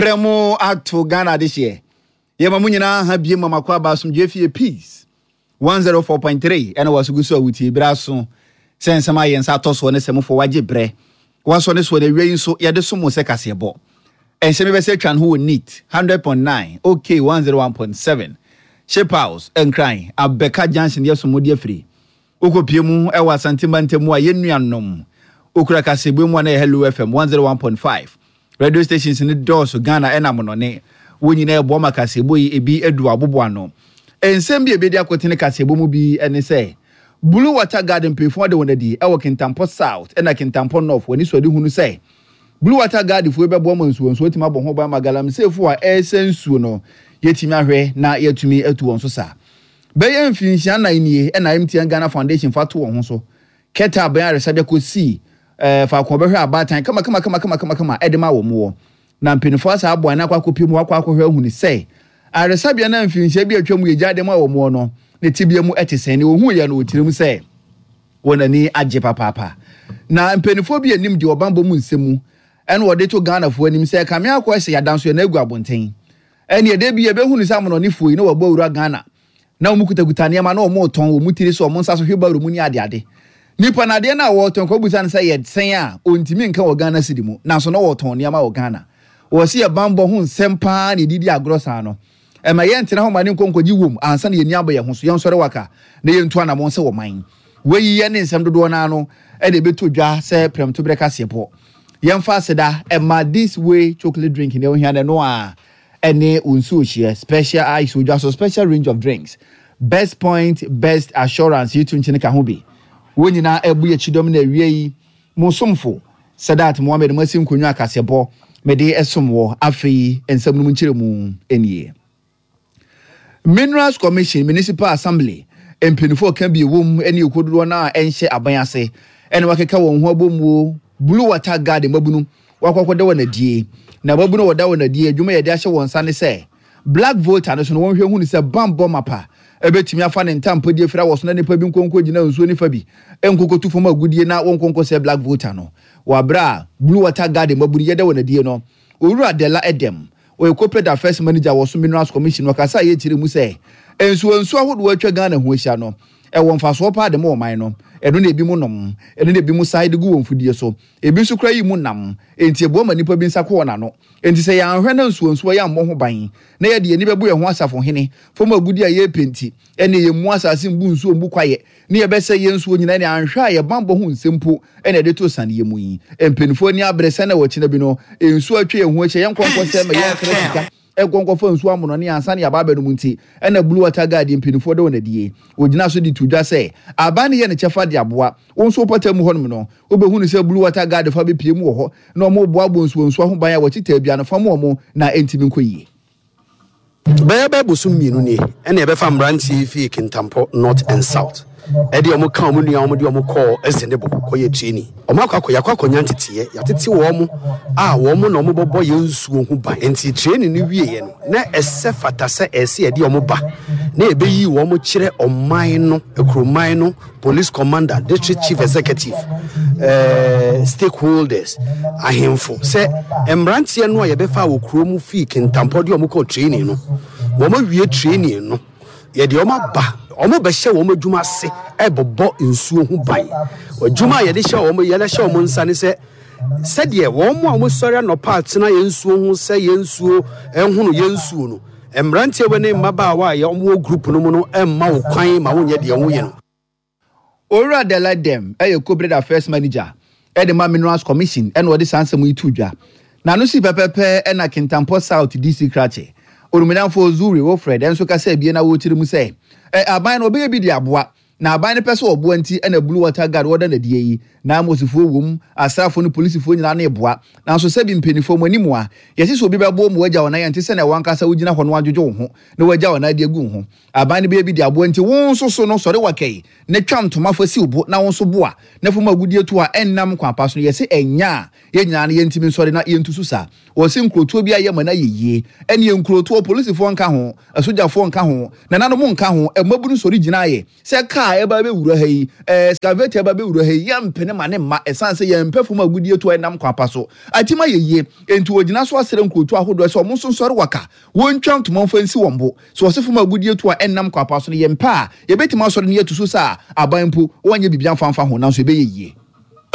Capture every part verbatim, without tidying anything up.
Mprɛ mo ato Ghana adehyeɛ. Yɛma mo nyinaa ha bie ma makɔ aba asomdwoe fie Peace one oh four point three ɛna wasogu so a wotie berɛ aso sɛ nsɛm a yɛn nsa atɔ soɔ ne sɛ mofoɔ wagye berɛ wasɔ ne soɔ no awie yi nso yɛde so mo sɛ kaseɛbɔ ɛnhyɛ mi bɛsɛ atwa ne ho wɔ Neat hundred point nine, OK one oh one point seven, Ship House, Nkran Abɛka Junction. Yɛ so mo de afiri wokɔpie mu ɛwɔ Asantema ntam a yɛn nuanom okura kaseɛbɔ mu a na yɛ Hello F M one oh one point five. Radio stations ne dɔɔso Ghana ɛna monɔne wɔn nyinaa ɛboa ma kaseɛbɔ yi ebi adu abobo ano. Nsɛm bi a ebedi akotene kaseɛbɔ mu bi ɛne sɛ Blue Water Guard mpanyinfoɔ de wɔn adi ɛwɔ Kintampɔ South ɛna Kintampɔ North. Wɔn ani so ade hunu sɛ Blue Water Guard foɔ bɛboa ma nsuo nsuo tumi abɔ ho ban ma galamseyfoɔ a ɛresɛ nsuo no yɛtumi ahwɛ na yɛtumi atu wɔn so saa. Bɛyɛ mfinhyia nnan nie ɛna M T N Ghana Foundation fa to wɔn ho so kɛtɛ abɛn aresabea kɔsii ɛɛ faako ɔbɛhwɛ abaatan kama kama kama kama kama kama ɛde ma wɔn wɔ na mpanimfoɔ asa aboa na akɔ akɔpie mu akɔ akɔhwɛ ahunu sɛ aresabea na mfinhyia bi atwa mu yɛgya de ma wɔn wɔ no ne tibia mu ɛte sɛn ne ohun yɛ no wɔ mu sɛ wɔn ani agye papaapa. Na mpanimfoɔ bi anim deɛ ɔbanbɔ mu nsɛm mu ɛna wɔde to Ghanafoɔ anim sɛ kame akɔ ɛsɛ yadanso yɛn agu abɔnten ɛne ɛde bi yɛbɛhunu sɛ amonɔnefoɔ yi na wɔbɔ awura Ghana na wɔn kutakuta nneɛma na wɔn retɔn wɔn tiri so, wɔn nsa so hwebaro mu ne adeade. Nipa na adeɛ no a wɔretɔn kɔ busa no sɛ yɛ sɛn a ɔntumi nka wɔ Ghana cedi mu, nanso na wɔretɔn nneɛma wɔ Ghana. Wɔsi yɛ banbɔ ho nsɛm paa na yɛdidi agorɔ saa no ɛma yɛntena hɔ ma ne nkɔnkɔgye wom ansa na yɛni abɔ yɛn ho so. Yɛnsɔre waka na yɛntu anammɔn sɛ wɔman wɔyi yɛ ne nsɛm dodoɔ no ano ɛna ɛbɛtɔ dwa sɛ prɛmtoberɛ kaseɛbɔ. Yɛmfa aseda ɛma This Way chocolate drink ne ohia no a ɛne nsuo hyɛ special ice odwa so, special range of drinks, Best Point, Best Assurance yi to nkyɛn ka ho bi. Wɔn nyinaa ɛbu yɛ kyidɔm na awie yi mo somfo Sadat Mohammed mo asi nkonnwa akaseɛbɔ mede ɛsom wɔ. Afei nsɛm no mu nkyerɛ mu nie: Minerals Commission, Municipal Assembly mpanimfoɔ ka bi ɛwɔ mu ne ekododoɔ no a ɛnhyɛ aban ase ɛna wakeka wɔn ho abɔ mu Blue Water Guard mmabunu wakɔkɔda wɔn adie na mmabunu wɔda wɔn adie adwuma yɛde ahyɛ wɔn nsa ne sɛ Black Volta no so no wɔnhwɛ hu sɛ bambɔ mapa ɛbɛtumi afa ne ntampadie fira wɔ so na nipa bi nkonko gyina nsuo nifa bi nkokotu fam agudie na wɔn nkonko sɛ Black Volta no wɔ abere a Blue Water Guard mmabunu yɛda wɔn adie no. Owura Dela Edem, ɔyɛ corporate affairs manager wɔ so Minerals Commission, wɔkasa a yɛkyerɛ mu sɛ nsuo nsuo ahodoɔ atwa Ghana ho ahyia no ɛwɔ mfasoɔ paa de ma ɔman no. Ɛno na ebi mu nom, ɛno na ebi mu san de gu wɔn fidie so, ebi nso kura yi mu nam, nti eboa ma nipa bi nsa kɔ wɔn ano. Nti sɛ yɛanhwɛ na nsuo nsuo yɛ ammɔ ho ban na yɛde yɛn ani bɛbu yɛn ho asafohene fam agudi a yɛrepɛ nti ɛne yɛn mu asase mbu nsuo mbu kwaeɛ ne yɛbɛsɛ yɛn nsuo nyinaa ne anhwɛ a yɛbanbɔ ho nsɛm mpo ɛna yɛde to saneɛ mu yi. Mpanimfoɔ ani abere sɛ na wɔkyena bi no nsuo atwa yɛn ho ahyia yɛn nkɔnkɔ sɛ ma yɛn kra sika ɛnkɔnkɔfa nsuo amono ne ansa ne yɛaba abɛnom. Nti ɛna Blue Water Guard mpanimfoɔ de wɔn adie ogyina so de to dwa sɛ aban no yɛ ne kyɛfa de aboa wɔn nso pɔtɛ mu hɔnom no wobɛhu no sɛ Blue Water Guard fa bɛpie mu wɔ hɔ na wɔn boaboa nsuo nsuo ho ban a wɔkye taabia no fam wɔn na ɛntumi nkɔ yie. Bɛyɛ bɛyɛ bosom mmienu nie ɛna yɛbɛfa mmeranteɛ fie Kintampɔ North and South ɛde ɔmo ka ɔmo nua ɔmo de ɔmo kɔɔ Ɛsɛnebo kɔyɛ training. Ɔmo akɔ akɔ yɛakɔ akɔnya nteteɛ, yɛatete wɔn a wɔn na ɔmo bɔbɔ yɛn nsuo ho ban. Nti training no wieɛ no na ɛsɛ fata sɛ ɛsɛ yɛde ɔmo ba na yɛbɛyi wɔn kyerɛ ɔman no, akuroman no, police commander, district chief executive, uh, stakeholders, ahemfo, sɛ mmeranteɛ no a yɛbɛfa wɔ kurom fii Kintampɔ de ɔmo kɔɔ training no, wɔn awie training no, yɛde wɔn aba, wɔn bɛhyɛ wɔn adwuma ase ɛbɛbɔ nsuo ho ban. Adwuma a yɛde hyɛ wɔn yɛde hyɛ wɔn nsa ne sɛ sɛdeɛ wɔn a wɔsɔre anɔpa atena yɛn nsuo ho sɛ yɛn nsuo ɛhono yɛn nsuo no, mmeranteɛ wɔ ne mmabaawa a wɔn wɔ group no mu no ɛmma wo kwan ma wonyɛ deɛ wɔyɛ no. Owura Dela Dem ɛyɛ corporate affairs manager ɛde ma Minerals Commission ɛna ɔde saa nsɛm yi to dwa na no si pɛpɛpɛ. Ɛna Kintampɔ South D C krakye onumnyamfo Zuri Wilfred ɛnso kasa ebien na wɔrekyerɛ mu sɛ ɛ aban no ɔbɛyɛ bi de aboa na aban no pɛ sɛ ɔboa nti ɛna Blue Water Guard wɔda n'adie yi na amosifoɔ wom, asraafoɔ ne polisifoɔ nyinaa no eboa. Nanso sɛbi mpanimfoɔ mu anim a yɛsi sɛ obi bɛboa mu wagya wɔn nan nte sɛ na wankasa wogyina hɔ no wadwodwo wo ho na wagya wɔn nan de agu wo ho. Aban no bɛyɛ bi de aboa nti wɔn nso so no sɔre wakɛyi na twa ntoma fa si wo bo na wɔn nso boa na fam agudie to a ɛnnam kwan pa so no yɛsɛ ɛnya a yɛn nyinaa no yɛntumi nsɔre na yɛntu so saa. Wɔsi nkurotoɔ bi ayɛ ma no ayɛ yie ɛne nkurotoɔ polisifoɔ nka ho, asogyafoɔ nka ho, nananom nka ho, mmabunu sɔre gyina ayɛ sɛ kaa. Kaa ɛba bɛwura ha yi, excavator ɛba bɛwura ha yi, yɛmpene ma ne mma, ɛsiane sɛ yɛmpɛ fam agudie to a ɛnam kwan pa so atim ayɛ yie. Enti wɔgyina so asrɛ nkurotoɔ ahodoɔ sɛ wɔn nso nsɔre waka, wɔntwa ntoma mfa nsi wɔn bo. Sɛ wɔse fam agudie to a ɛnnam kwan pa so no yɛmpɛ a, yɛbɛtumi asɔre na yɛatu so sɛ a aban mpo wɔnyɛ biribi amfa mfa ho, nanso ɛbɛyɛ yie.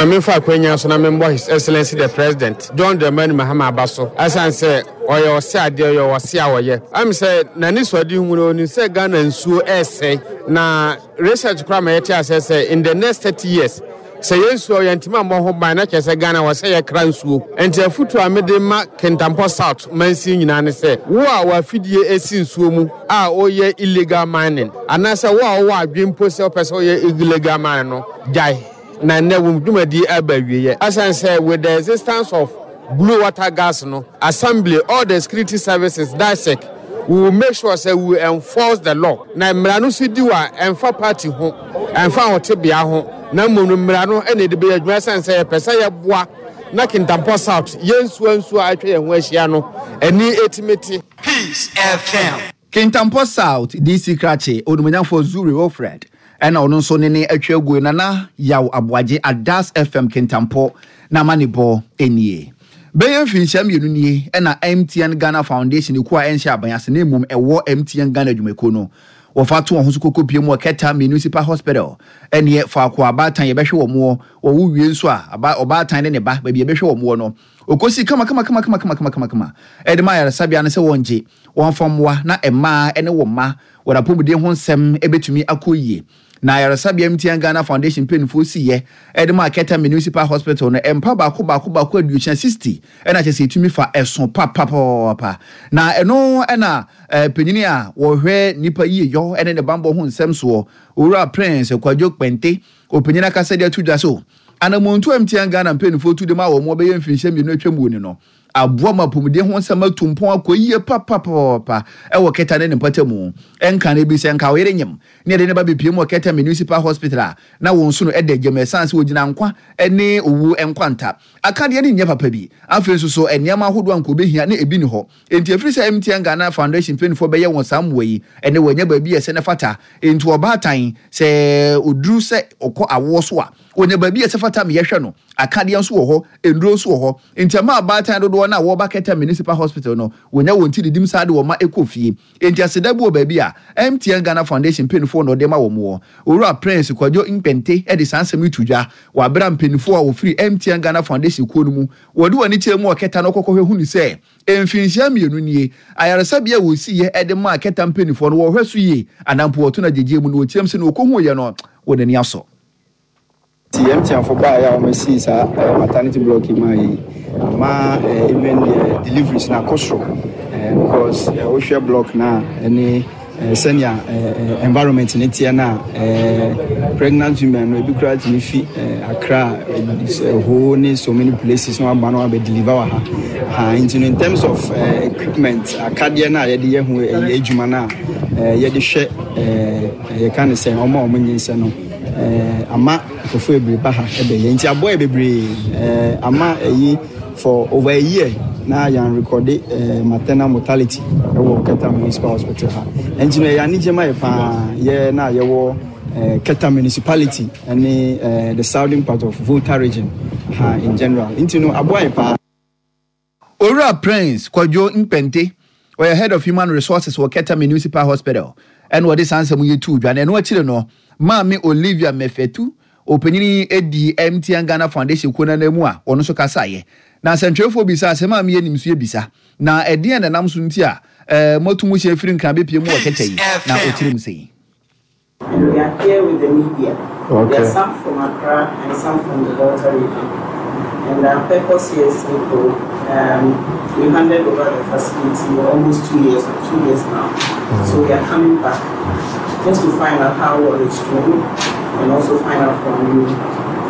Ma memfa akwanya so na membɔ His Excellency the President, John Dramani Mahama aba so ɛsiane sɛ ɔyɛ ɔse adeɛ, ɔyɛ ɔse a ɔyɛ. Ɛm sɛ n'anisoadehu no, ɔnim sɛ Ghana nsuo ɛresɛe, na research koraa ma yɛte aseɛ sɛ in the next thirty years, sɛ yɛn nsuo yɛntumi ammɔ ho ban na kyerɛ sɛ Ghana wɔ sɛ yɛkra nsuo. Nti afotuo a mede ma Kintampo South mansin nyinaa ne sɛ, wo a w'afidie esi nsuo mu a woyɛ illegal mining, anaasɛ wo a wowɔ adwene mpo sɛ wopɛ sɛ woyɛ illegal mining no, gyae. Na nnɛ wɔn dwumadie aba awieɛ. Ɛsiane sɛ with the existence of blue water gas no, assembly, all the security services, DISEC, we will make sure sɛ we will enforce the law. Na mmara no so di wɔ a, ɛmfa party ho, ɛmfa ahotebea ho, na mmom no mmara no na ɛde bɛyɛ adwuma. Ɛsiane sɛ yɛpɛ sɛ yɛboa na Kintampo South, yɛn nsuo nsuo a atwa yɛn ho ahyia no, ani ɛtumi te. Peace F M. Kintampo South D C Krakye, Onimonyamfoɔ Zuri Wilfred, ɛna ɔno nso ne ne atwa aguo. Nana Yaw Aboagye, Adas F M Kintampo na ama ne bɔ nie. Bɛyɛ mfinhyia mmienu nie ɛna M T N Ghana Foundation ekuo a ɛnhyɛ aban ase na mmom ɛwɔ M T N Ghana adwumakuo no wɔfa to wɔn ho so koko pie mu wɔ Keta Municipal Hospital, ɛneɛ faako a abaatan yɛbɛhwɛ wɔn wɔ. Wɔwo wie nso a, aba ɔbaatan ne ne ba baabi yɛbɛhwɛ wɔn wɔ no, okosi kama kama kama kama kama kama kama kama ɛde ma ayaresabea no sɛ wɔn gye wɔn fa mmoa na mmaa ne wɔn mma wɔn apɔmuden ho nsɛm ɛbɛtumi akɔ yie. Na ayaresabea M T N Ghana Foundation mpanimfoɔ siiɛ ɛde ma Keta Municipal Hospital no, mpa baako baako baako aduosia, sixty, ɛna kyerɛ sɛ ɛtumi fa ɛso papapapa. Na ɛno ɛna ɛɛ panyin a wɔhwɛ nipa yie yɔ ɛne ne bambɔ ho nsɛm soɔ, Owura Prince Kwadwo Kpɛnte, ɔpanyin akasa de ato dwa so anamontu M T N Ghana mpanimfoɔ tu de ma wɔn bɛyɛ mfinhyia mmienu atwa mu ni no aboa ma apɔmuden ho nsɛm atu mpɔn akɔ yie papapapa ɛwɔ Keta ne ne mpata mu. Ɛnka no bi sɛ nka ɔyere nyim ne yɛde ne ba bepie mu wɔ Keta Municipal Hospital a, na wɔn nso no ɛda gyam, ɛsan sɛ wɔgyina nkwa ne owuo nkwanta akadeɛ no nyɛ papa bi. Afei nso so nneɛma ahodoɔ a nka obɛhia ne ebi ni hɔ. Enti ɛfiri sɛ M T N Ghana Foundation mpanimfoɔ bɛyɛ wɔn saa mmoa yi, ɛne wɔanya baabi a ɛsɛ ne fata. Enti ɔbaatan sɛ oduru sɛ ɔkɔ awoɔ so a, wɔnya baabi a ɛsɛ fata ma yɛhwɛ no. Akadeɛ nso wɔ hɔ, nnuro nso wɔ hɔ. Nti ɛma abaatan dodoɔ no a wɔba Keta Municipal Hospital no wɔnya wɔn ti didim saa de wɔn ma ɛkɔ fie. Enti aseda bi wɔ baabi a M T N Ghana Foundation mpanimfoɔ na ɔde ma wɔn wɔ. Owura Prince Kwadwo Nkpɛnte de saa nsɛm yi to dwa wɔ abere a mpanimfoɔ a wɔfiri M T N Ghana Foundation kuo no mu wɔde wɔn ani kyerɛ mu wɔ Keta no kɔkɔhwɛ hunu sɛ mfinhyia mmienu nie ayaresabea a wɔsiiɛ de maa Keta mpanimfoɔ no wɔhwɛ so yie anampo wɔto no agyegye mu na wɔkyerɛm sɛ na wɔkɔhuiɛ no wɔ n'ani asɔ. Ti M T N fo baeɛ a wɔasi saa maternity block yi maa yi ama even deliveries na akɔ soro, because wohwɛ block na ɛne sɛnea environment ne teɛ no a, pregnant women no ebi koraa tumi fi Accra, Ho ne so many places na waba na wabɛ deliver wɔ ha ha. Nti no, in terms of equipment, akadeɛ no a yɛde yɛ ho ɛyɛ adwuma no a yɛde hwɛ, yɛka ne sɛ ɔmo a ɔmo nyinsɛ no, ama nkurɔfoɔ bebree ba ha ɛbɛyɛ. Nti aboa yɛ bebree ama ɛyi for over a year na yɛn record maternal mortality ɛwɔ Keta Municipal Hospital ha. Nti no, ɛyɛ anigye ma yɛ paa, yɛ na yɛwɔ Keta Municipality ɛne the southern part of Volta Region ha in general. Nti no, aboa yɛ paa. Owura Prince Kwadwo Nkpɛnte, ɔyɛ Head of Human Resources wɔ Keta Municipal Hospital, ɛna ɔde saa nsɛm yi tu dwa. Na ɛno akyire no, Maame Olivia Mefetu, ɔpanyin edi M T N Ghana Foundation kuo nana mu a ɔno nso kasaeɛ. Na nsɛntwerɛfoɔ bisa sɛ, maame yɛ nim so yɛ na ɛdeɛn na nam so nti a ɛɛ moatu mo hyɛn firi Nkran bɛpie mu wɔ Keta yi? Na ɔkyerɛ mu sɛ yi. And we are here with the media. Okay. There are some from Accra and some from the Volta Region. And our purpose here is simple. Um, we handed over the facility almost two years or two years now. Mm. So we are coming back just to find out how well it's doing and also find out from you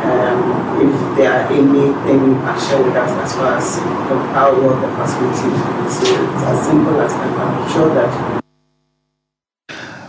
um, if there are anything you can share with us as far as the, how well the facility is doing. So it's as simple as that. I'm sure that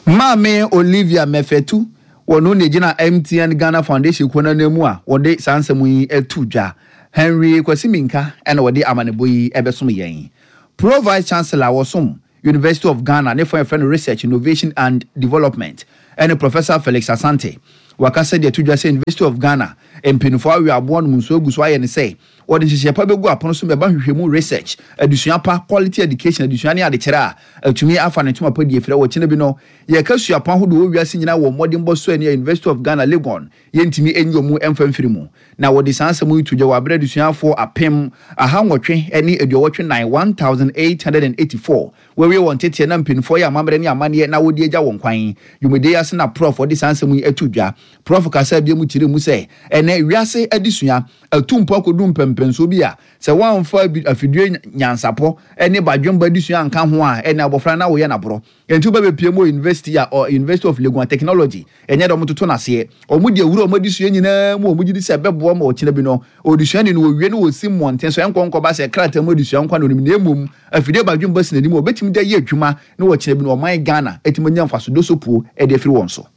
Maame Olivia Mefetu, wɔno na gyina M T N Ghana Foundation kuo no mu a wɔde saa nsɛm yi ato dwa. Henry Kwasi Minka ɛna wɔde amanebɔ yi ɛbɛsom yɛn. Pro Vice Chancellor a wɔsom University of Ghana ne fɔn yɛfrɛ no Research, Innovation and Development, Ɛne Professor Felix Asante. Wakasa de ato dwa sɛ University of Ghana mpanyinfoɔ awe aboa nom nsuo agu so ayɛ ne sɛ wɔde nhyehyɛ pa bɛgu apono so bɛba nhwehwɛmu, research, adesua pa, quality education, adesua ne adekyerɛ a atumi afa ne ntoma pa di efirɛ. Wɔ kyena bi no yɛka suapɔn ahodoɔ wɔ wiase nyinaa wɔ mmɔdenbɔ so ani a, University of Ghana Legon yɛntumi enyi wɔn mfa mfiri mu. Na wɔde saa nsɛm yi to dwa wɔ abere adesuafoɔ apem aha nwɔtwe ne aduɔwɔtwe nan, one thousand eight hundred and eighty-four, wɔawie wɔn teteɛ na mpanimfoɔ yɛ amammerɛ ne amanneɛ na wɔde agya wɔn kwan dwumadie yi ase. Na Prof wɔde saa nsɛm yi ato dwa. Prof kasa bi mu kyerɛ mu sɛ ɛnɛ wiase adesua atu mpo akɔdu mpɛmpɛnsoɔ bi a sɛ wɔamfa afidie nyansapɔ ne badwemba adesua anka ho a, ɛne abɔfra na wɔyɛ n'aborɔ. Nti wobɛbɛpie mu wɔ university a ɔ University of Legon, technology ɛnyɛ dɛ ɔmo toto n'aseɛ. Ɔmo de awura ɔmo adesua nyinaa mu, ɔmo gye di sɛ ɛbɛboa ma ɔkyena bi no odesuani no wɔwie no wɔsi mmɔnten so ɛnkɔ nkɔba sɛ krataa mu adesua nkwa na onim, na emom afidie badwemba si n'anim a ɔbɛtumi de ayɛ adwuma na wɔkyena bi no ɔman Ghana ɛtumi anya mfasodo so puo ɛde afiri wɔn so.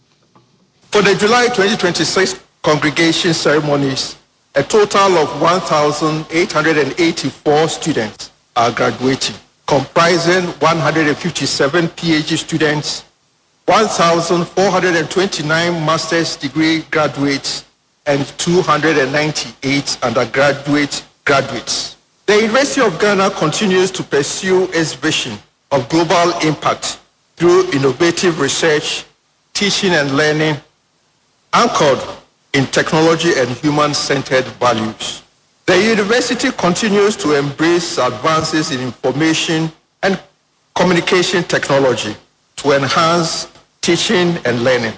For the July twenty twenty-six congregation ceremonies, a total of one thousand eight hundred eighty-four students are graduating, comprising one hundred fifty-seven P H D students, one thousand four hundred twenty-nine master's degree graduates, and two hundred ninety-eight undergraduate graduates. The University of Ghana continues to pursue its vision of global impact through innovative research, teaching and learning, anchored in technology and human-centered values. The university continues to embrace advances in information and communication technology to enhance teaching and learning.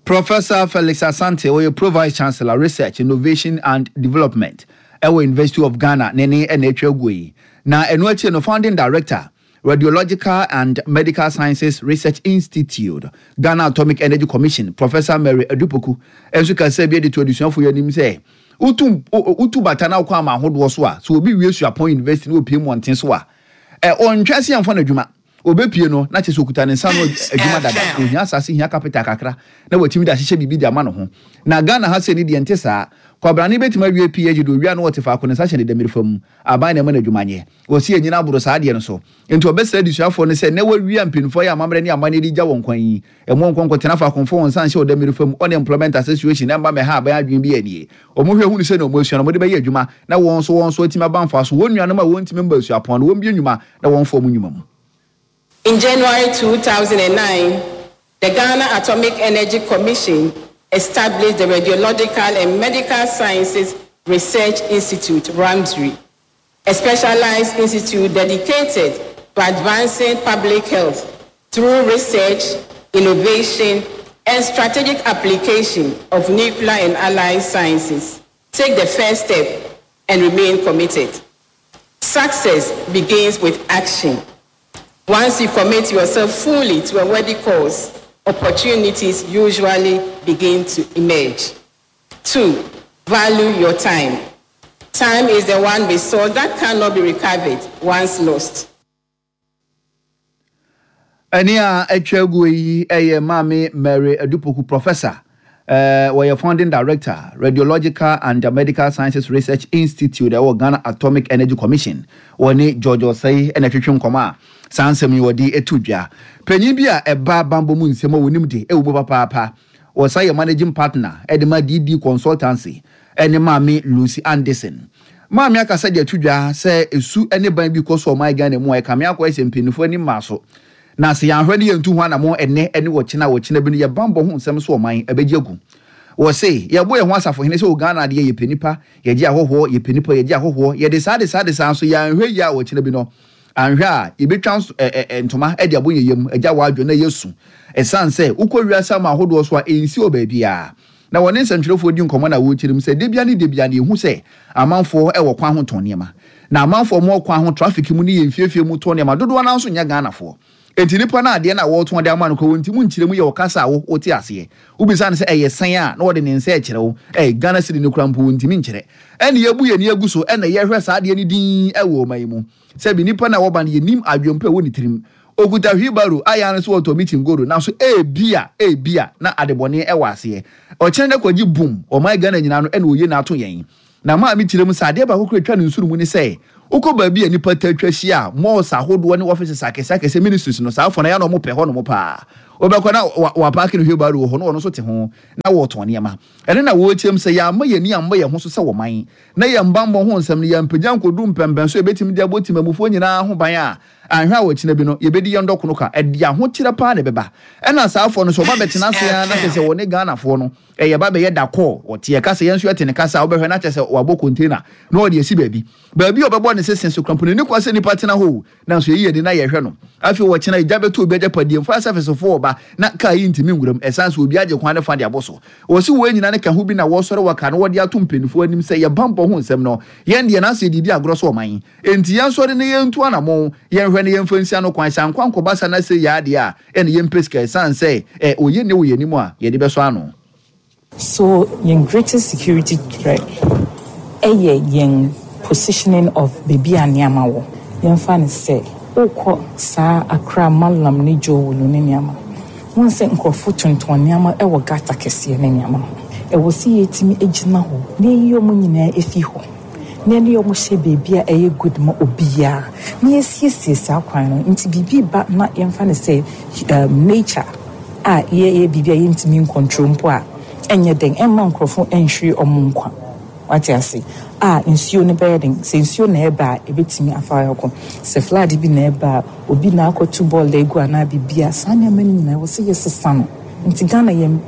Professor Felix Asante, ɔyɛ Pro Vice Chancellor, Research, Innovation and Development, ɛwɔ University of Ghana, ne ne ɛna atwa agu yi. Na ɛno akyi no, Founding Director, Radiological and Medical Sciences Research Institute, Ghana Atomic Energy Commission, Professor Mary Adu Poku nso kasa bi de to adesuafo yi anim sɛ wotu wotu bata na wokɔ ama ahodoɔ so a, so obi wie suapɔn university na opie mmɔnten so a, ɛ ɔntwa se yɛmfa no adwuma. Obepie no na kyerɛ sɛ okuta ne nsa no adwuma dada. Ohia asase, hia capital kakra na watumi de ahyehyɛ biribi de ama ne ho. Na Ghana ha sɛ ni deɛ nte saa. Kwabrane bɛtumi awie P H D, owia no wɔte faako, ne nsa hyɛ ne dɛmiri fam, aban na ɛma no adwuma nyɛ. Wɔsi enyina aboro saa adeɛ no so. Nti ɔbɛsrɛ adesuafoɔ no sɛ na wawie mpanimfoɔ yɛ amammerɛ ne amanneɛ de gya wɔn kwan yi, ɛmo nkɔnkɔ tena faako mfo wɔn nsa nhyɛ ɔdɛmiri fam. Unemployment Association ɛmba mɛha aban adwene bi anie. Wɔn hwɛ hunu sɛ na wɔn asua no wɔde bɛyɛ adwuma na wɔn nso wɔn nso atumi aba mfa so. Wɔn nuanom a wɔntumi mba asuapɔn no, wɔn bie nnwuma na wɔn fɔ wɔn nnwuma mu. In January two thousand nine, the Ghana Atomic Energy Commission established the Radiological and Medical Sciences Research Institute, RAMSRI, a specialized institute dedicated to advancing public health through research, innovation, and strategic application of nuclear and allied sciences. Take the first step and remain committed. Success begins with action. Once you commit yourself fully to a worthy cause, opportunities usually begin to emerge. Two, value your time. Time is the one resource that cannot be recovered once lost. Ɛne a atwa agu yi ɛyɛ Maame Mary Adu Poku, Professor, uh, wɔyɛ Founding Director, Radiological and Medical Sciences Research Institute ɛwɔ Ghana Atomic Energy Commission. Wɔne George Osei ɛna twetwe nkɔmɔ a saa nsɛm yi wɔde etu dwa. Panyin bi a ɛba bambɔ mu nsɛm a wɔnim de ɛwɔ mu papaapa, wɔsan yɛ managing partner ɛde ma D D Consultancy, ɛne Maame Lucy Anderson. Maame akasa de ato dwa sɛ esu ne ban bi kɔ so ɔman Ghana mu a ɛkame akɔ ɛsɛ mpanyinfoɔ anim maa so, na sɛ yɛanhwɛ ne yɛntu ho anammɔ ɛnɛ ɛne wɔkyena wɔkyena bi no, yɛ bambɔ ho nsɛm so ɔman ɛbɛgye agu. Wɔ se yɛbɔ yɛn ho asafohene sɛ wɔ Ghana adeɛ, yɛpɛ nipa, yɛgye ahɔhoɔ, yɛpɛ nipa, yɛgye ahɔhoɔ, yɛde saa de saa de saa nso yɛanhwɛ yie a, wɔkyena bi no anhwɛ a yɛbɛtwa ɛ ɛ ntoma ɛde abɔ yɛn yam agya wɔ na yɛsu, ɛsiane sɛ wokɔ wiase ama ahodoɔ so a ɛnsi wɔ baabiara. Na wɔne nsɛntwerɛfoɔ di nkɔmmɔ na wɔrekyerɛ mu sɛ debia ne debia ne yɛhu sɛ amanfoɔ ɛwɔ kwan ho tɔn nneɛma, na amanfoɔ mo kwan ho traffic mu ne yɛn mfiefie mu tɔn nneɛma dodoɔ no nso nyɛ Ghanafoɔ. Enti nipa no adeɛ no a wɔretɔn de ama no kɔ wɔn ti mu nkyerɛ mu yɛ ɔkasa a wo wote aseɛ. Wobisa no sɛ ɛyɛ sɛn a, na wɔde ne nsa ɛkyerɛ wo. Ɛyɛ Ghana cedi no kora mpo wɔntumi nkyerɛ. Ɛne yɛbu yɛn ani agu so ɛna yɛhwɛ saa adeɛ no din ɛwɔ ɔman yi mu sɛbi nipa no a wɔba no, yɛnim adwempa ɛwɔ ne tirim. Okuta wheelbarrow ayɛ ano so wɔtɔ meeting goro, nanso ebia ebia na adebɔne ɛwɔ aseɛ. Ɔkyerɛ no kɔgye boom ɔman Ghana nyinaa no ɛna oye n'ato yɛn. Na maame kyerɛ mu sɛ adeɛ baako kora atwa ne nsoro mu ne sɛ wokɔ baabi a nnipa ta atwa ahyia a, malls ahodoɔ ne offices akɛseɛ akɛseɛ, ministries no, saa afɔ no ɛyɛ na ɔmo pɛ hɔ nom paa. Wobɛkɔ na wapark no wheelbarrow wɔ hɔ na ɔno nso te ho na wɔtɔn nneɛma. Ɛno na wɔrekyerɛ mu sɛ yɛama yɛn ani ammɔ yɛn ho so sɛ wɔman na yɛn bammɔ ho nsɛm no yɛmpagya nkɔdu mpɛmpɛn so yɛbɛtumi de abɔ timamufoɔ nyinaa ho ban a, anhwɛ a wɔkyena bi no yɛbɛdi yɛn dɔkono ka. Ɛde ahokyerɛ paa na ɛbɛba. Ɛna saa afɔ no sɛ ɔba bɛtena ase a, na kyerɛ sɛ wɔne Ghanafoɔ no ɛyɛ ba bɛyɛ dakɔɔ. Ɔte ɛka sɛ yɛn nso yɛte ne kasa a, wobɛhwɛ na kyerɛ sɛ wabɔ container na ɔde asi baabi baabi a ɔbɛbɔ ne sese so krampo n'ani kwa sɛ nipa tena hɔ o, nanso yɛyi yɛni na yɛhwɛ no. Afei wɔkyena egya bɛtɔ obi agyapadeɛ mu, fire service foɔ ɔba na kaa yi ntumi nwuram ɛsan sɛ obi agye kwan ne fa de abɔ so. Wɔsi wɔn nyinaa ne ka ho bi na wɔsɔre wɔ no wɔde ato mpanimfoɔ anim sɛ yɛ bammɔ ho nsɛm no, yɛn deɛ n'asɛ didi agorɔ so ɔman enti yɛn sɔre ne yɛn ntu anamɔn, yɛnhwɛ ne yɛmfa nsia no kwan sɛ ankwa nkɔba sa na sɛ yɛ adeɛ a ɛne yɛmpɛ sika ɛsan sɛ ɛ oyɛ ne wɔ yɛn anim a yɛde bɛsɔ ano. So yɛn greatest security threat ɛyɛ yɛn positioning of baabi a nneɛma wɔ. Yɛmfa no sɛ wokɔ saa Accra Malam ne Dzorwulu ne nneɛma, wɔn sɛ nkurɔfo tontɔn nneɛma ɛwɔ gutter kɛseɛ ne nneɛma ho. Ɛwɔ sɛ yɛtumi gyina hɔ na yɛyi wɔn nyinaa efi hɔ na yɛne wɔn hyɛ baabi a ɛyɛ good ma obiara na yɛsiesie saa kwan no. Nti biribi ba na yɛmfa no sɛ um, nature a yɛyɛ biribi a yɛntumi ncontrol mpo a, ɛnyɛ den ɛmma nkurɔfo nhwere ɔmo nkwa. Wate ase a nsuo no bɛyɛ den sɛ nsuo na ɛba a, ɛbɛtumi afa akɔ sɛ flood bi na ɛba a, obi na akɔtu bɔɔl egu anaa biribi a, saa nneɛma no nyinaa wɔ sɛ yɛsesa no. Nti Ghana yɛn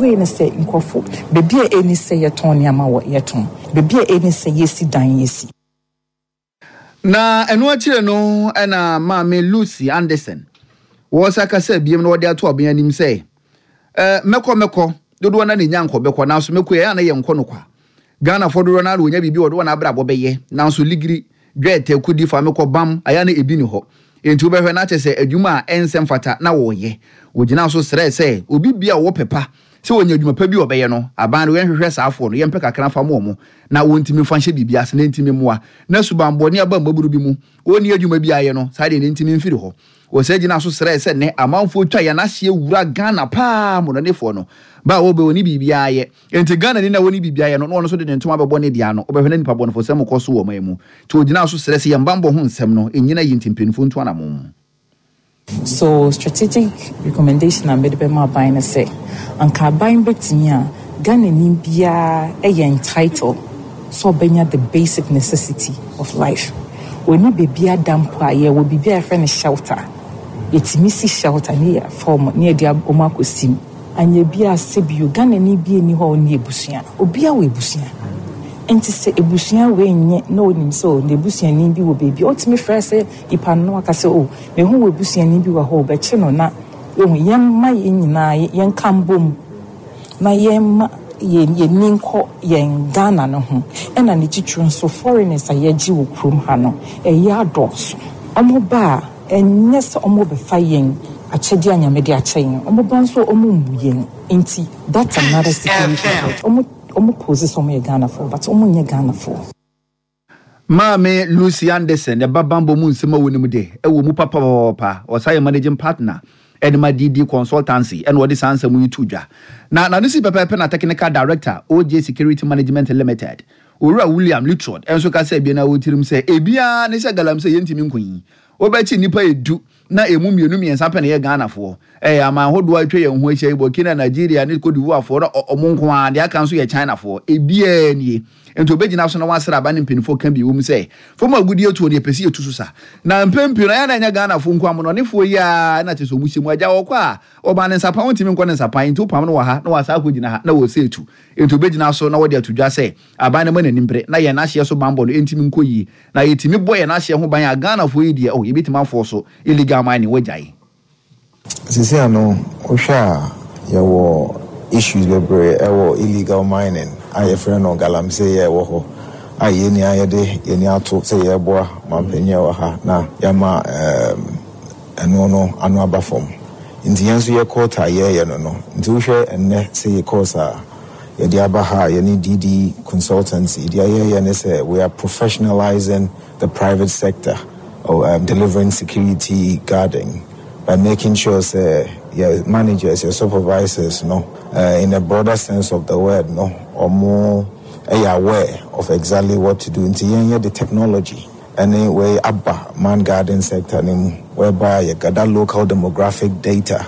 wei ne sɛ nkurɔfo beebi a ɛni sɛ yɛtɔn nneɛma wɔ yɛtɔn, beebi a ɛni sɛ yɛsi dan yɛsi. Na ɛno akyire no ɛna Maame Lucy Anderson wɔsa kasa biem na wɔde ato ɔbɛn anim sɛ ɛɛ mɛkɔ mɛkɔ dodoɔ na ne nya nkɔ bɛkɔ, nanso mɛkɔ yɛ ana yɛ nkɔ no kwa. Ghanafoɔ dodoɔ na wɔnya biribi wɔde wɔn abrabɔ bɛyɛ, nanso ligiri dwɛɛtɛ kudi fa mɛkɔ bam ayɛ na ebi ni hɔ. Nti wobɛhwɛ na kyerɛ sɛ adwuma a ɛnsɛ mfata na wɔreyɛ. Wɔgyina so srɛ sɛ obi bia a ɔwɔ pɛpa sɛ wɔnya adwuma pa bi a ɔbɛyɛ no, aban no yɛnhwehwɛ saa afoɔ no, yɛmpɛ kakra fa ma ɔmo na wɔntumi mfa nhyɛ biribi ase na ntumi mmoa na subanbɔne aba mmaburu bi mu wɔnni adwuma bi ayɛ no saa deɛ ne ntumi mfiri hɔ. Wɔsɛ gyina so srɛ sɛ nnɛ amanfoɔ twa yɛn ahyeɛ wura Ghana paa mmɔnɔnefoɔ no ba a wɔbɛ wɔne biribiara yɛ. Nti Ghana ni na wɔne biribiara yɛ no na ɔno nso de ne ntoma bɛbɔ ne deɛ ano, wobɛhwɛ na nipa bɔnefoɔ sɛm kɔ so wɔ ɔman mu. Nti wɔgyina so srɛ sɛ yɛn bammɔ ho nsɛm no ɛnyina yi nti mpanimfoɔ ntu anammɔn. So strategic recommendation a mede bɛma aban no sɛ anka aban bɛtumi a, Ghanani biara ɛyɛ entitled sɛ ɔbɛnya the basic necessity of life. Wɔni baabi ada mpo a, yɛwɔ biribi a yɛfrɛ no shelter. Yɛtumi si shelter ne yɛ fɔm ne yɛde ɔmo akɔsi mu. Anya bi a sɛbio Ghanani bi ani hɔ a ɔne abusua, obiara wɔ abusua. Nti sɛ abusua wei nyɛ na onim sɛ o n'abusuani bi wɔ baabi a, ɔtumi frɛ sɛ nipa no aka sɛ o mehu wɔ abusuani bi wɔ hɔ, ɔbɛkye no na ehu. Yɛmma yɛn nyinaa yɛnka mbom na yɛmma yɛn yɛni nkɔ yɛn Ghana no ho. Ɛna ne titiri nso, foreigners a yɛgye wɔ kurom ha no ɛyɛ adɔɔso. Ɔmo ba a, ɛnyɛ sɛ ɔmo bɛfa yɛn akyɛdeɛ a Nyame de akyɛ yɛn. Ɔmo ba nso ɔmo mmu yɛn. Nti that's another security threat. Ɔmo ɔmo pose sɛ ɔmo yɛ Ghanafoɔ but ɔmo nyɛ Ghanafoɔ. Maame Lucy Anderson ɛba bambɔ mu nsɛm a wɔnim de ɛwɔ mu papaapa. Ɔsa yɛ managing partner ɛde ma D D Consultancy ɛna ɔde saa nsɛm yi to dwa. Na n'ano si pɛpɛɛpɛ na technical director, O J Security Management Limited, Owura William Litrod ɛnso kasa ebien na wɔtirim sɛ ebiara ne sɛ galamsey yɛntumi nko yi wobɛkyi nnipa edu na emu mmienu mmiɛnsa pɛ na ɛyɛ Ghanafoɔ. Ɛyɛ aman ahodoɔ a atwa yɛn ho ahyia yi, Burkina, Nigeria ne Cote d'Ivoire foɔ na ɔmo nko ara. Deɛ aka nso yɛ Chinafoɔ. Ebiara nie. Nti obɛgyina so na wasra aba ne mpanimfoɔ ka bi wɔ mu sɛ fam agudie tuo no yɛpɛ sɛ yɛtu so sa na mpɛn pii no ɛyɛ na ɛnyɛ Ghanafoɔ nko, amonɔnefoɔ yi a na kyerɛ sɛ ɔmo hyɛ mu agya wɔkɔ a ɔba ne nsapan wontumi nkɔ ne nsapan. Nti wopam no wɔ ha na wasa akɔgyina ha na wɔsɛ etu. Nti obɛgyina so na wɔde ato dwa sɛ aban no ma n'anim bere na yɛn ahyeɛ so bambɔ no ɛntumi nkɔ yie na yɛtumi bɔ yɛn ahyeɛ ho ban a, Ghanafoɔ yi deɛ oh yɛbɛtumi afoɔ so illegal mining wɔagyae. Sisi ano wohwɛ a, yɛwɔ issues bebree ɛwɔ illegal mining a yɛfrɛ no galamsey yɛ ɛwɔ hɔ a yɛn nyinaa yɛde yɛn ani ato sɛ yɛreboa mampanyin a ɛwɔ ha na yɛama ɛɛm ɛno no ano aba fam. Nti yɛn nso yɛ quota a yɛreyɛ no no nti wohwɛ ɛnnɛ sɛ yɛ course a yɛde aba ha a yɛne D D Consultancy deɛ yɛyɛ ne sɛ we are professionalizing the private sector of um, delivering security guarding by making sure sɛ your managers, your supervisors no, uh, in a broader sense of the word no, ɔmo ɛyɛ aware. of exactly what to do. Nti yɛn yɛ the technology ɛne wei aba man garden sector ne mu, whereby yɛ gather local demographic data.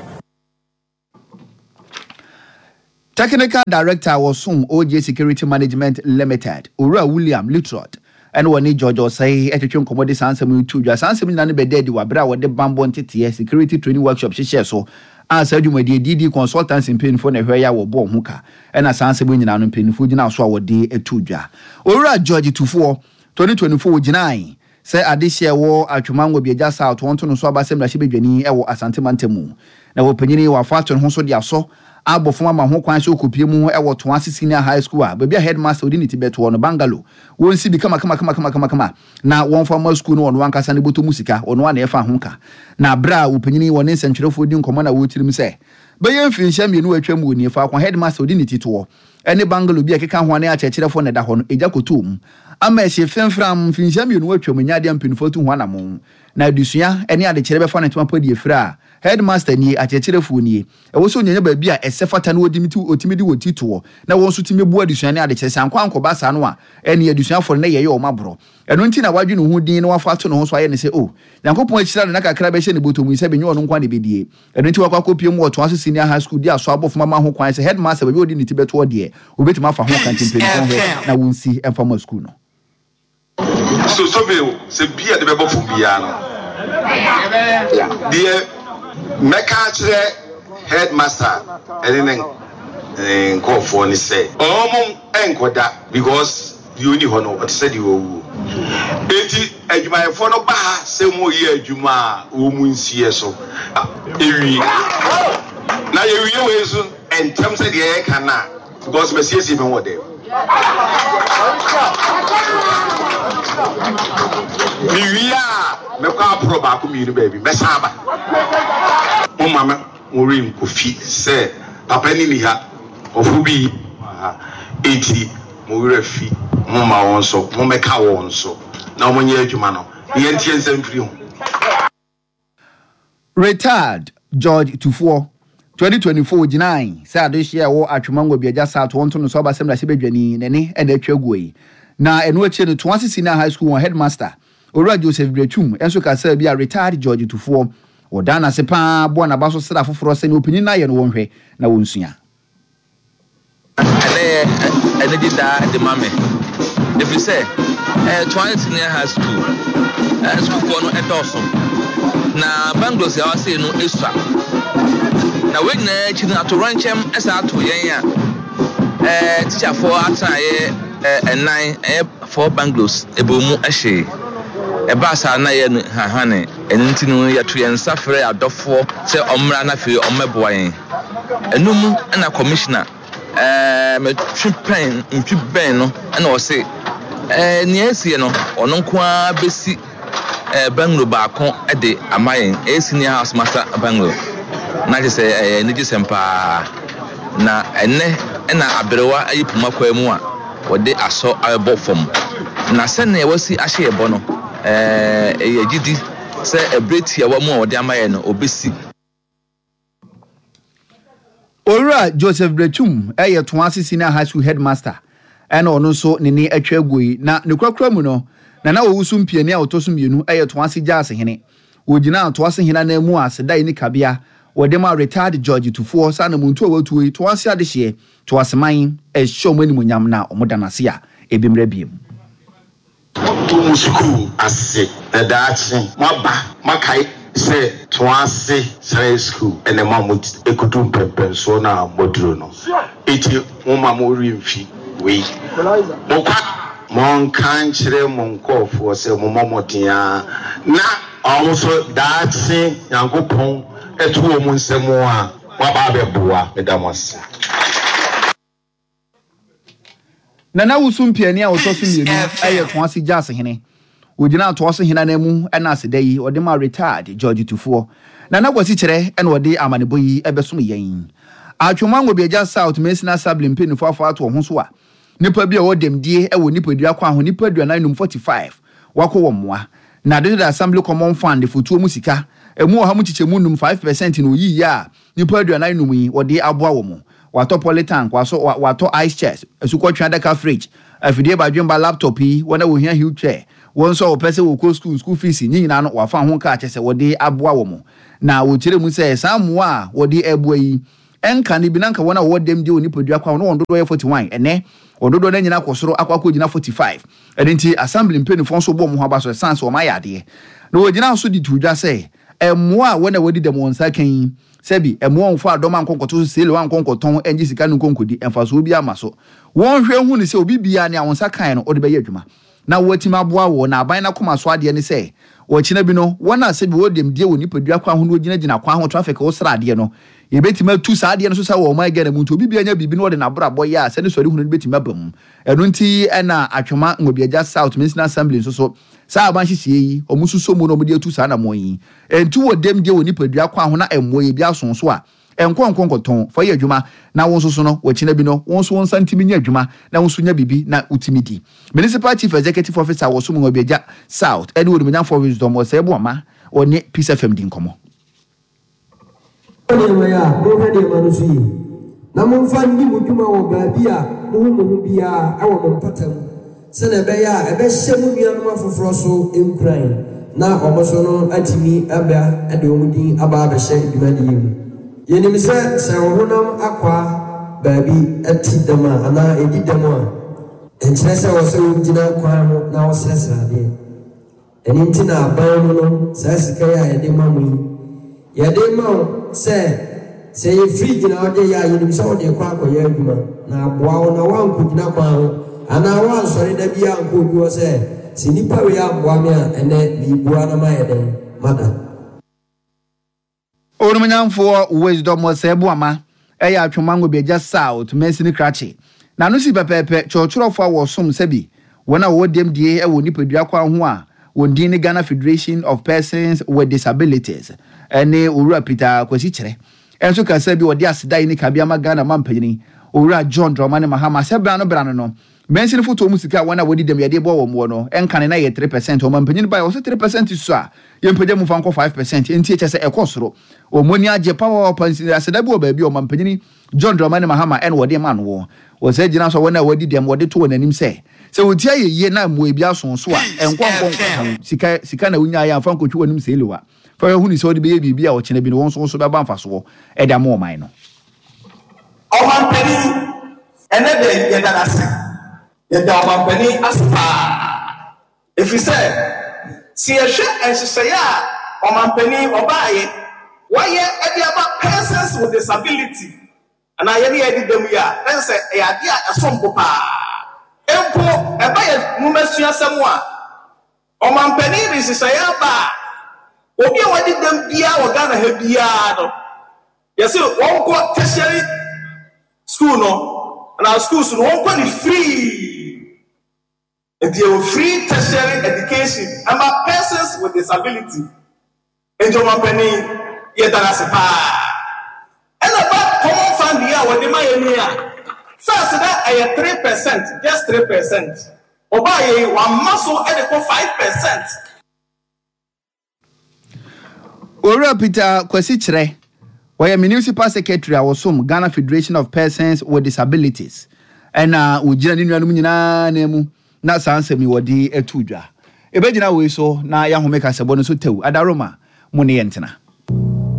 Technical Director wɔ Som O J Security Management Limited, Owura William Litrot, ɛne wɔne George Osei ɛtwetwe nkɔmmɔ de saa nsɛm yi to dwa. Saa nsɛm nyinaa no bɛda adi wɔ abere a wɔde bambɔ nteteɛ security training workshop hyehyɛɛ so a saa dwumadie D D Consultancy mpanyinfoɔ na ɛhwɛ yɛ a wɔbɔɔ ho ka. Ɛna saa nsɛm nyinaa no mpanyinfoɔ gyina so a wɔde to dwa. Owura George Tufoɔ, twenty twenty-four gyinae sɛ adehyɛ wɔ Atwoma Nwabiagya South wɔn to no so aba sɛ mmarahyɛbadwani ɛwɔ Asante Mantam mu. Na wɔpanyin wɔafa ato ne ho so de asɔ abɔ fam ama ho kwan sɛ okopie mu ɛwɔ Toase Senior High School a baabi a headmaster odi ne ti bɛtoɔ no bungalow wɔnsi bi kama kama kama kama kama kama na wɔmfa ma school no ɔno ankasa ne bɔtɔ mu sika ɔno a na ɛfa ho ka. Na abere a wɔpanyin wɔ ne nsɛntwerɛfoɔ di nkɔmmɔ na wɔtirim sɛ bɛyɛ mfirinhyia mmienu atwa mu wɔ nie faako headmaster odi ne ti toɔ ɛne bungalow bi a ɛkeka ho ne akyerɛkyerɛfoɔ na ɛda hɔ no egya kɔtɔɔ mu ama ɛhyɛ fɛmfram mfirinhyia mmienu atwa mu nya adeɛ mpanyinfoɔ tu ho anamɔ na adesua ɛne adekyerɛ bɛfa ne ntoma pɔ de efiri a headmaster nie akyerɛkyerɛfoɔ nie ɛwɔ sɛ onyanya baabi a ɛsɛ fata na wɔdi otimi de wɔn ti toɔ na wɔn nso tumi bu adesua ne adekyerɛ sɛ ankɔ ankɔba saa no a ɛne adesuafoɔ no na yɛyɛ wɔn aborɔ. Ɛno nti na wadwe ne ho din na wafa ato ne ho so ayɛ ne sɛ o Nyankopɔn akyira no na kakra bɛhyɛ ne bɔtɔ mu sɛ bɛnyɛ ɔno nkwa na ɛbɛdie. Ɛno nti wakɔ akɔpie mu wɔ Toase Senior High School di aso abɔ fam ama ho kwan sɛ headmaster baabi a ɔde ne ti bɛtoɔ deɛ obɛtumi afa ho kanti mpanyinfoɔ hwɛ na wɔnsi ɛmfa ma school no. So so bi sɛ bi a de bɛbɔ fam biara no deɛ mɛka akyerɛ headmaster ɛne ne nkɔɔfoɔ ne sɛ ɔmo ɛnkɔda because deɛ ɔni hɔ no ɔte sɛ deɛ ɔwuo. Enti adwumayɛfoɔ no ba ha sɛ mo yɛ adwuma a wɔn mu nsiɛ so ewie na yɛwie wei nso ntɛm sɛ deɛ yɛka na because mɛsiesie mi wɔ dɛm mewie a mɛkɔ aporɔ baako mmienu baabi mɛsan aba. Mo ma me mo renkɔfi sɛ papa ni ni ha ɔfo bi ha enti mo werɛ fi mo ma wɔn so mo mɛka wɔn so na wɔn nyɛ adwuma no ne yɛntie nsɛm firi ho. Retired George Tufoɔ, twenty twenty-four gyinae sɛ adehyɛ a ɛwɔ Atwoma Nwabiagya South wɔn to no so aba sɛ mmarahyɛbadwani n'ani ɛna atwa aguo yi. Na ɛno akyi no Toase Senior High School wɔn headmaster Owura Joseph Brechum nso kasa bi a retired George Tufoɔ wɔda n'ase paa boa n'aba so sra foforɔ sɛ ne ɔpanyin no ayɛ no wɔn hwɛ na wɔnsua. Ɛnɛ ɛnɛ di daa de ma me ɛfiri sɛ ɛɛ Toase Senior High School ɛɛ sukuufoɔ no ɛdɔɔso na bungalows a wɔasɛ no esua na wɔn nyinaa akyi no ato rɔnkyɛm ɛsa ato yɛn a ɛɛ tikyafoɔ atenaeɛ ɛɛ ɛnan ɛyɛ four bungalows ɛbɔ mu ɛhyɛ ɛbaa saa na yɛ no hahane. Ɛno nti no yɛto yɛn nsa frɛ adɔfoɔ sɛ ɔmmra na afei ɔmmɛboa yɛn. Ɛno mu ɛna commissioner ɛɛ mɛtwe pɛn ntwi bɛn no ɛna ɔse ɛɛ nea esie no ɔno nko ara bɛsi ɛɛ bungalow baako ɛde ama yɛn ɛyɛ senior house master bungalow na kyerɛ sɛ ɛyɛ anigye sɛm paa. Na ɛnɛ ɛna aberewa ayi poma kwan mu a wɔde asɔ abɛbɔ fam na sɛnea wɔasi ahyɛ yɛ bɔ no ɛɛ ɛyɛ gyidi sɛ ɛberɛ tiawa mu a wɔde ama yɛn no obɛsi. Owura Joseph Brechum ɛyɛ Toase Senior High School headmaster ɛna ɔno nso ne ne atwa aguo yi. Na ne kurakura mu no Nana Owusu Mpiani a ɔtɔ so mmienu ɛyɛ Toase Gyaase hene. Wɔgyina Toase hene anan mu a aseda yi ne kabea wɔde ma retired George Tufoɔ saa na muntu a watuo yi Toase adehyeɛ Toase man ɛhyɛ ɔmo animuonyam na ɔmo da n'ase a ebi mmerɛ biem. Moto mo sukuu ase na daakye moaba moakae sɛ Toase Senior School ɛna ma mo ekudu mpɛmpɛnsoɔ na moduro no. Eti mo ma mo remfi wei. Mokwa monka nkyerɛ mo nkɔɔfoɔ sɛ mommɔ mmɔden a na ɔmo nso daakye Nyankopɔn ɛto wɔn nsam a moaba abɛboa. Meda mo ase. Nana Owusu Mpiani a ɔtɔ so mmienu ɛyɛ Toase Gyaase hene. Ogyina Toase hene anan mu ɛna aseda yi ɔde ma retired George Tufoɔ. Nana Kwasi kyerɛ ɛna ɔde amanebɔ yi ɛbɛsom yɛn. Atwoma Nwabiagya South Mansini Assembly mpanyinfoɔ afɔ ato wɔn ho so a nipa bi a ɔwɔ dɛmdie ɛwɔ nipadua kwan ho nipa aduanan num forty-five wakɔ wɔn mmoa. Na District Assembly Common Fund fotuo mu sika emu ɔha mu kyekyɛ mu num five percent na oyi yie a nipa aduanan num yi wɔde aboa wɔn. Watɔ polytank, wasɔ watɔ ice chest, asukɔtwe adaka, fridge, afidie badwemba, laptop yi, wɔn a wɔhia wheelchair, wɔn nso a wɔpɛ sɛ wɔkɔ school, school fees ne nyinaa no, wafa ho kaa kyɛ sɛ wɔde aboa wɔn. Na wɔkyerɛ mu sɛ saa mmoa a wɔde aboa yi, ɛnka ne bi na nka wɔn a wɔwɔ dɛm deɛ wɔ nipadua kwan no, wɔn dodoɔ yɛ forty-one. Ɛnɛ wɔn dodoɔ no nyinaa kɔ soro akɔ akɔ gyina forty-five. Ɛno nti assembly mpanimfoɔ nso bɔ wɔn ho aba so ɛsan sɛ wɔn ayɛ adeɛ. Na wɔgyina so de to dwa sɛ mmoa a wɔn a wɔdi dɛm wɔn nsa kan yi, sɛbi mmoa wɔn fo adɔm ankɔnkɔto so seele wɔn ankɔnkɔtɔn ɛngye sika no nkɔnkɔdi mfasoɔ bi ama so. Wɔn hwɛ hu ne sɛ obi biara ne a wɔn nsa kan no, ɔde bɛyɛ adwuma na wɔatumi aboa wɔ. Na aban n'akoma so adeɛ ne sɛ wɔkyena bi no, wɔn a sɛbi wɔde die wɔ nipadua kwan ho na wɔgyinagyina kwan ho traffic wɔsra adeɛ no, yɛbɛtumi atu saa adeɛ no so sɛ wɔ ɔman Ghana mu. Nti obi biara nya biribi na wɔde n'abrabɔ yɛ a, sɛ ne sɔre hunu no bɛtumi aba mu. Ɛno nti ɛna Atwima Nwabiagya South Municipal Assembly nso so saa aban hyehyɛ yi, ɔmo nso mu na ɔmo de atu saa anammɔn yi. Ɛnti wɔ dɛm deɛ wɔ nipadua kwan ho na ɛmmoa yɛ bi aso so a, ɛnkɔ nkɔ nkɔtɔn fa yɛ adwuma na wɔn nso so no, wɔkyena bi no, wɔn nso wɔn nsa ntumi nyɛ adwuma na wɔn nso nya biribi na wotumi di. Municipal Chief Executive Officer wɔ so mu Nwabiagya South ɛne Onimonyamfoɔ Wisdom Ɔsɛe Boama ɔne Peace F M di nkɔmmɔ. Nneɛma yi a monhwɛ nneɛma no so yie na momfa nni mo dwuma wɔ baabi a mohu mo ho biara ɛwɔ mo mpata mu, sɛnea ɛbɛyɛ a ɛbɛhyɛ mo nuanom afoforɔ so nkuran na ɔmo so no atumi aba de wɔn din aba abɛhyɛ dwumadie mu. Yɛnim sɛ sɛ ɔhonam akwaa baabi ɛte dɛm a anaa ɛdi dɛm a, ɛnkyerɛ sɛ wɔ sɛ wogyina kwan ho na wɔsrɛsrɛ adeɛ. Ɛno nti na aban mu no, saa sika yi a yɛde ma mo yi, yɛde ma wo sɛ sɛ yɛ fridge na wode yɛ a, yɛnim sɛ wode kɔ akɔyɛ adwuma na aboa wo na woankɔgyina kwan ho anaa woansɔre da bi ankɔ obi hɔ sɛ sɛ nnipa wei amboa me a, ɛnɛ meebua na mayɛ dɛn mada. Onimonyamfoɔ Wisdom Ɔsɛe Boama ɛyɛ Atwima Nwabiagya South mansini krakye na no si pɛpɛɛpɛ. Kyerɛkyerɛfoɔ a wɔsom sɛbi wɔn a wɔwɔ dɛm die wɔ nipadua kwan ho a wɔn din ne Ghana Federation of Persons with Disabilities ɛne Owura Peter Kwasi Kyerɛ ɛnso kasa bi, wɔde aseda yi ne kabea ma Ghana ma mpanyin Owura John Dramani Mahama sɛ bra no bra no no mansini fotoɔ mu sika a wɔn a wɔdi dɛm yɛde bɔ wɔn wɔ no, ɛnka ne na yɛ three percent. Ɔma mpanyin ba yɛ wɔsɛ three percent so a, yɛmpagya mu fa nkɔ five percent. Nti ɛkyɛ sɛ ɛkɔ soro, wɔn ani agye papaapa. Aseda bi wɔ baabi a ɔma mpanyin John Dramani Mahama ɛna wɔde ma no wɔ wɔsɛ gyina so a, wɔn a wɔdi dɛm wɔde to wɔn anim sɛ sɛ wɔti ayɛ yie na mmoa bi aso so a, ɛnkɔ nkɔ nkɔtɔn sika. Sika na wonya yɛ amfa nkɔtwi wɔn anim sɛ elewa fa yɛ hunu sɛ wɔde bɛyɛ biribi a ɔkyena bi no, wɔn nso nso bɛba mfasoɔ ɛde ama ɔman no. Ɔmampanin, ɛnɛ de yɛda n'ase, yɛda ɔmampanin ase paa, ɛfiri sɛ sɛ yɛhwɛ nhyehyɛeɛ a ɔmampanin ɔbaayɛ wayɛ ɛde aba persons with disability anaa yɛne yɛde dɛm yi a, ɛne sɛ ɛyɛ adeɛ a ɛsom bo paa. Mpo ɛba yɛ nwomasuasɛm a, ɔmampanin de nhyehyɛeɛ aba a, obi a wadi dɛm biara wɔ Ghana ha biara no, yɛsɛ wɔnkɔ tertiary school no anaa schools no, wɔnkɔ ne free. Nti yɛwɔ free tertiary education ama persons with disability. Nti ɔmampanin, yɛda no ase paa. Ɛna ba common fund yi a wɔde ma yɛn ni a, first na ɛyɛ three percent, just three percent. Ɔbaa yɛ yi, wama so ɛde kɔ five percent. Owura Peter Kwasi Kyerɛ, wɔyɛ municipal secretary a wɔsom Ghana Federation of Persons with Disabilities, ɛna wɔgyina ne nuanom nyinaa na mu na saa nsɛm yi wɔde atu dwa. Ɛbɛgyina wei so na yɛahome kasɛbɔ no so tɛw. Adaroma mo ne yɛntena.